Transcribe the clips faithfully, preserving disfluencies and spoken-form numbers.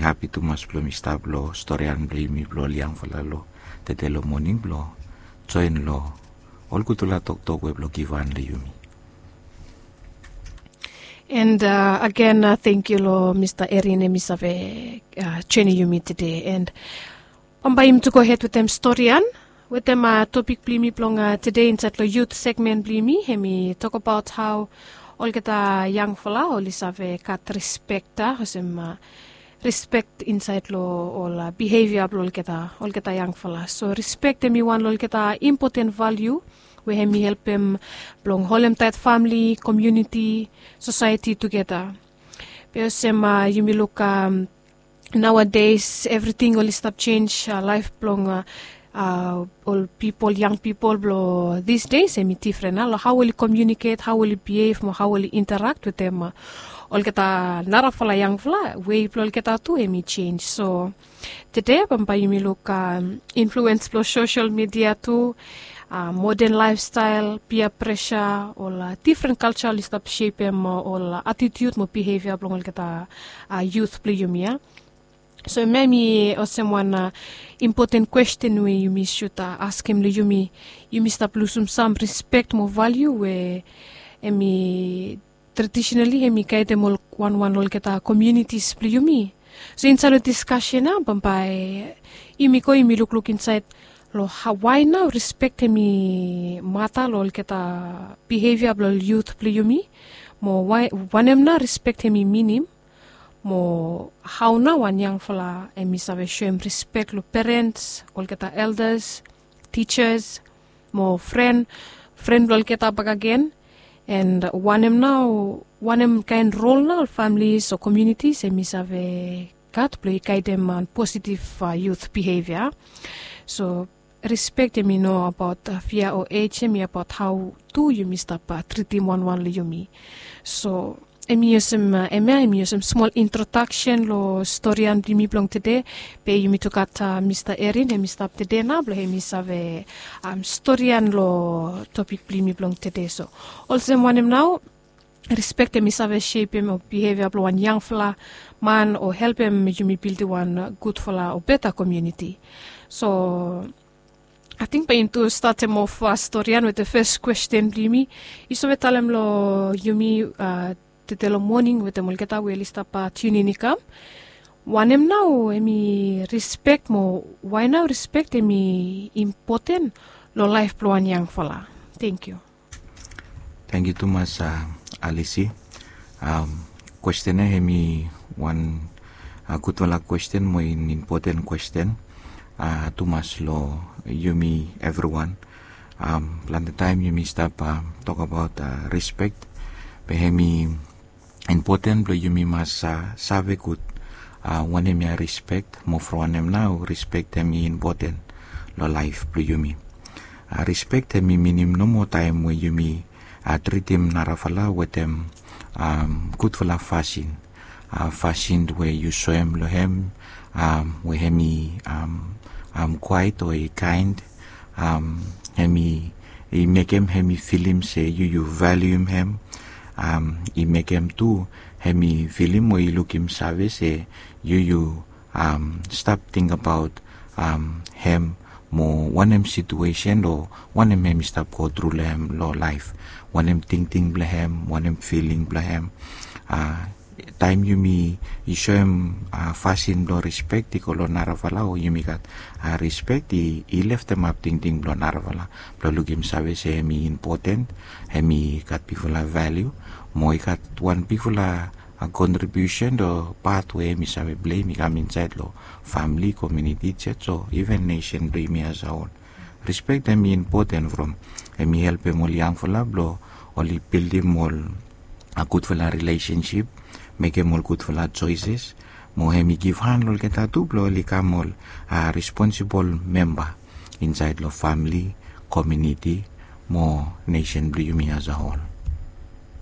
Hapi tumas blong mi stap long storian blong yumi blong ol yangfala long tede long moning blong join long ol gudfala toktok we blong givhan long yumi. And agen, tengkiu long Mista Erin, em i save joinim yumi tede. And bambae yumi tu gohed wetem storian wetem topik blong yumi blong tede insaed long yut segmen blong yumi, em i tokbaot hao olgeta yangfala oli save gat rispekta olsem rispek insaed long ol bihevia blong olgeta olgeta yangfala. So rispek em i wan long olgeta impoten valiu we em i helpem blong holemtaet famili, komuniti, sosaeti tugeta. Be olsem yumi luk, naoades evriting oli stap jenj laef blong ol pipol, yang pipol blong disdes em i difren nao long hao oli komiuniket, hao oli bihev mo hao oli interakt wetem olgeta narafala yangfala, wei blong olgeta tu em i jenj. So tede bambae yumi luk influens blong sosel midia tu, moden laefstael, pia presa, ol difren kalja oli stap sepem ol atitiut mo bihevia blong olgeta yut blong yumi ya. So em ya em i olsem wan impoten kwesten we yumi sud askem long yumi. Yumi stap lusum sam rispek mo valiu we em i tradisonali em i gaedem ol wanwan long olgeta komiunitis blong yumi. So insaed long diskasen ya bambae yumi go yumi lukluk insaed long wae nao rispek em i mata long olgeta bihevia blong ol yut blong yumi, mo wanem nao rispek em i minim, mo hao nao wan yangfala em i save soem rispek long perens, olgeta eldas, tijas, mo fren, fren blong olgeta bakagen. And wanem nao, wanem kaen rol nao ol familis o komiunitis em i save gat blong i gaedem positiv yut bihevia. So rispek em i no abaot fia o ej, em i abaot hao tu yumi stap tritim wanwan long yumi. So em i olsem, em ya em i olsem smol introdaksen long storian blong yumi blong tede. Be yumi tu gat Mista Erin, em i stap tede nao blong em i save storian long topik blong yumi blong tede. So olsem wanem nao rispek em i save sepem ol bihevia blong wan yangfala man o helpem yumi bildim wan gudfala o beta komiuniti. So ating bae yumi tu statem of storian wetem fes kwesten blong yumi. Yu save talem long yumi tede long moning wetem olgeta we oli stap tiunin i kam, wanem nao em i rispek mo wae nao rispek em i impoten long laef blong wan yangfala? Tengkiu. Tengkiu tumas, Alisi. Kwesten ya em i wan gudfala kwesten mo impoten kwesten tumas long yumi evriwan. Plante taem yumi stap tokbaot rispek, be em i impoten blong yumi mas save gud wanem ya rispek, mo from wanem nao rispek em i impoten long laef blong yumi. Rispek em i minim nomo taem we yumi tritim narafala wetem gudfala fasin. Fasin we yu soem long hem we hem i kwaet o i kaen, hem i mekem hem i filim se yu yu valium hem. I mekem tu hem i filim o i lukim save se yu yu stap tingbaot hem mo wanem situesen o wanem hem i stap gotru long hem long laef, wanem tingting blong hem, wanem filing blong hem. Taem yumi i soem fasin blong rispek i go long narafala o yumi gat rispek i leftemap tingting blong narafala blong lukim save se hem i impoten, hem i gat bigfala valiu mo i gat wan bigfala kontribiusen o pat we hem i save pleim i kam insaed long famili, komiuniti, jej o iven nesen blong yumi as a hol. Rispek hem i impoten from hem i helpem ol yangfala blong oli bildim ol gudfala rilesensip, mekem ol gudfala joeses, mo hem i givhan long olgeta tu blong oli kam ol responsibol memba insaed long famili, komiuniti mo nesen blong yumi as a hol.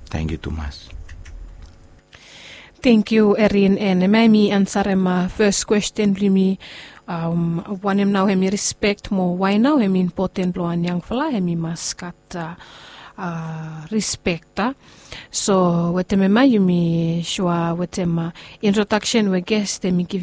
Tengkiu tumas. Tengkiu Erin, en hemia hemi ansarem fes kwesten blong yumi, wanem nao hemi rispek mo wae nao hemi impoten blong wan yangfala hemi mas gat rispek. So wetem hemia yumi sua wetem introdaksen we ges hemi givim.